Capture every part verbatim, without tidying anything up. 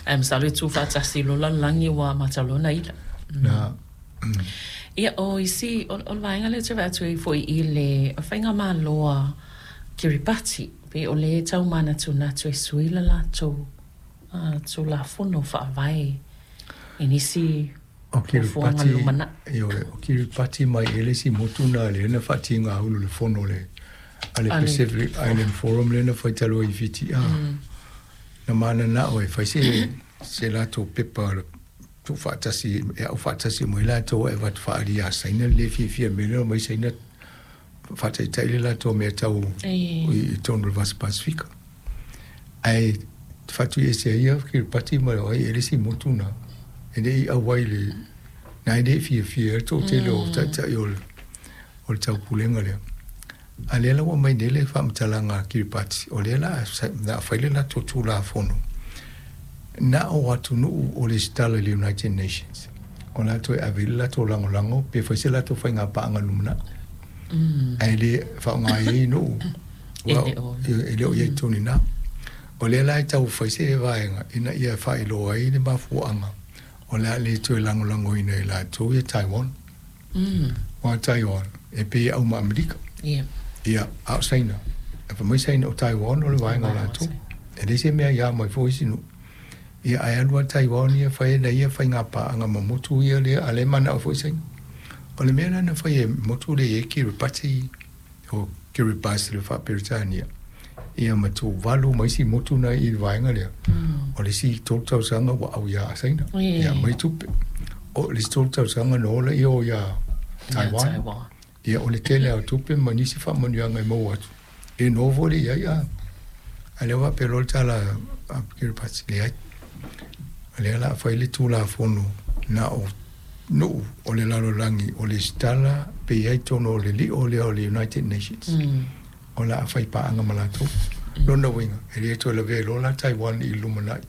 Ae masalo e tuufaatasi loa lalolagi ua amata loa ona ila. Na. Ia, o isi, o o le vaega lea ou te vaai atu ai foi i le faigamalo a Kiribati, pei o lea e tau manatunatu e sui le latou Tulafono Faavae i nisi O fuafuaga Kiripati, lumanai. Ioe, o Kiripati mai e le isi motu na lea na faatiga ulu le fono le a le A le Pacific Island Forum lea na fai talu ai i Fiti a. Na mananao e fai se se latou pepa tuufaatasi e au faatasi mai latou e avatu faaalia ia Saina le fiafia mea lea mai Saina faataitai le latou mea tau i totonu o le Vasa Pasefika. Ae faatuiese ai ia Kiripati ma o ai e le isi motu na e le i auai le na e le fiafia ai le toatele o taitai o le o le taupulega lea. A lea la ua aumai nei le faamatalaga a Kiripati o lea la a fai le latou Tulafono na o atunuu o lesitala i le United Nations o latou e ave i le latou lagolago pe fai se latou faigapaaga lumanai ae le faaaoga ai nuu e le o i ai totonu i ina. O lea la e tau fai se vaega ina ia faailoa ai le mafuaaga o le a le toe lagolagoina e latou ia Taiwan. Aua Taiwan e pei e au ma Amerika. Ia, a o Saina, e fai mai Saina o Taiwan o le vaega o latou. E leai se mea ia mai foi isi nuu. Ia, ae alu lava Taiwan ia fai ana ia faigapaaga ma motu ia lea, a o lea e manao foi Saina. O le mea la na fai e motu lea e i ai Kiribati, o Kiribati i le faa-Peretania, ia ma Tuvalu ma isi motu na i le vaega lea, o le isi tolu tausaga ua au ia Saina, ia aumai tupe. O le isi tolu tausaga na o laia o ia Taiwan. Ia, o le tele lava o tupe ma nisi faamanuiaga e maua atu, e noho foi lea i ai. A, a lea ua faapea loa le tala a Kiribati, leai. O lea o le a fai le Tulafono na o nuu o le lalolagi o lesitala pe i ai totonu o le lio lea o le United Nations o le a fai paaga ma latou. Lona uiga, e le toe lavea loa la Taiwan i le lumanai,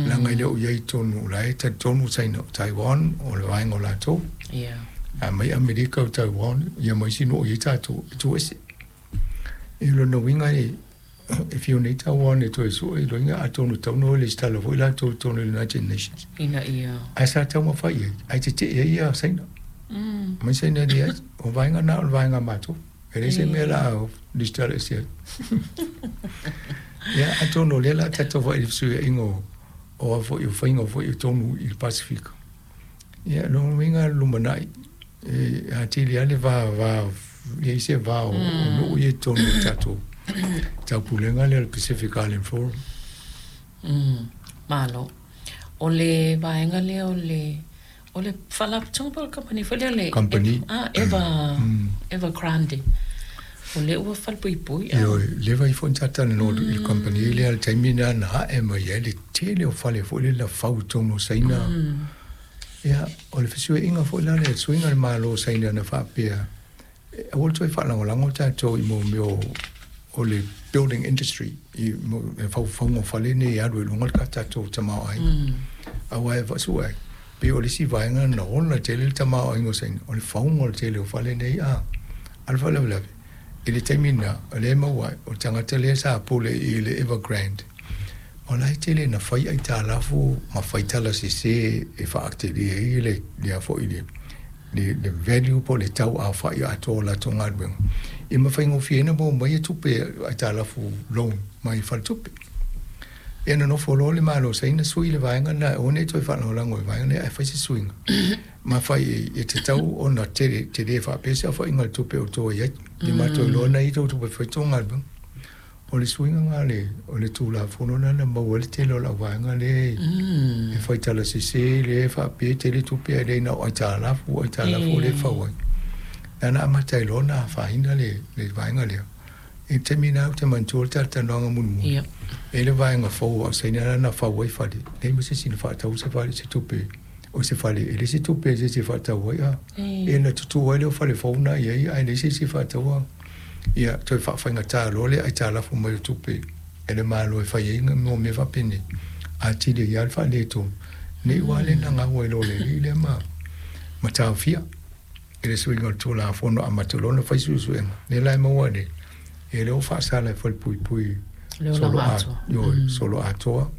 leaga e le o i ai i totonu, o la e talitonu Saina o Taiwan o le vaega o latou. A mai Amerika o Taiwan, ia ma isi nuu o i ai tatou, e tuu ese. I lona uiga e e fiu nei Taiwan e toe sue loiga atonu e tatau ona o lesitala foi latou i totonu o le United Nations. Ina ia. Ae sa taumafai i ai, ae tetee ai ia Saina. Mai Saina e leai, o vaega na o le vaega a matou. E leai se mea o le a lesitala ese ai. Ia, atonu o lea o le a tatou vaai i le fesuiaiga o o a foi o faiga foi i totonu i le Pasefika. Ia, lona uiga lumanai e atili lava le va va i ai se va o nuu ia i totonu o le tatou taupulega lea o le Pacific Island Forum. Malo. O le vaega lea o le o le faalapotopotoga po o le kamupani foi lea le Company. Ah, Eva Evergrande. O lea ua falepuipui. Ioe, leva ifo ona talanoa i le kamupani lea i le taimi lena na ae mai ai le tele o fale foi lele na fau i totonu o Saina. Ia, o le fesuiaiga foi la lea, le suiga o le Malo o Saina na faapea, aua le toe faalagolago tatou i mea o o le building industry i le faufauga o fale nei e alu ai i luga le tatou tamaoaiga. Aua e vaasua ai, pei o le isi vaega na ola tele le tamaoaiga o Saina, o le fauga o le tele o fale nei a. A o le faalavelave, i le taimi lena, o lea e maua ai, o le tagata lea sa pule i le Evergrande, o la e tele na fai aitalafu ma fai tala sese e faatelē ai le lea foi le le le value po o le tau aofai atoa o latou galuega ia ma faigofie ai ona maua mai tupe aitalafu loan mai faletupe. Ia nonofo loa le Malo o Saina sui le vaega lena e aua ne i toe faalagolago i le vaega lea ae fai se suiga ma fai e tatau ona tele tele faapea se aofaiga o le tupe o tou ai ai ia matou iloa na i tou tupe e fai tou galuega. O le suiga lena le o le Tulafono lena na maua ai le tele o lau vaega lea e fai tala sese lea e faapea e tele tupe ae le na o aitalafu aitalafu lea e fau ai. Na na amata ai loa ona afaina le le vaega lea. I le taimi lena ou te manatua le talatalanoaga mulimuli e le vaega fou a o Saina lena na fau ai fale, leai ma se isi na faatau se fale se tupe o se fale e leai se tupe e se isi e faatau ai a. Ia na tutu ai lea o fale fou na i ai ae leai se isi e faataua. Ia toe faafaigata loa le aitalafu mai o tupe e le Malo e fai ai mo mea faapenei atili ai lava le faaletonu nei ua le na gau ai loa le alii lea ma ma taofia i le suiga o le Tulafono amata loa ona fai suesuega lea la e maua nei e lea ua faasala e falepuipui Le solo olaga a atoa. ioe solo atoa.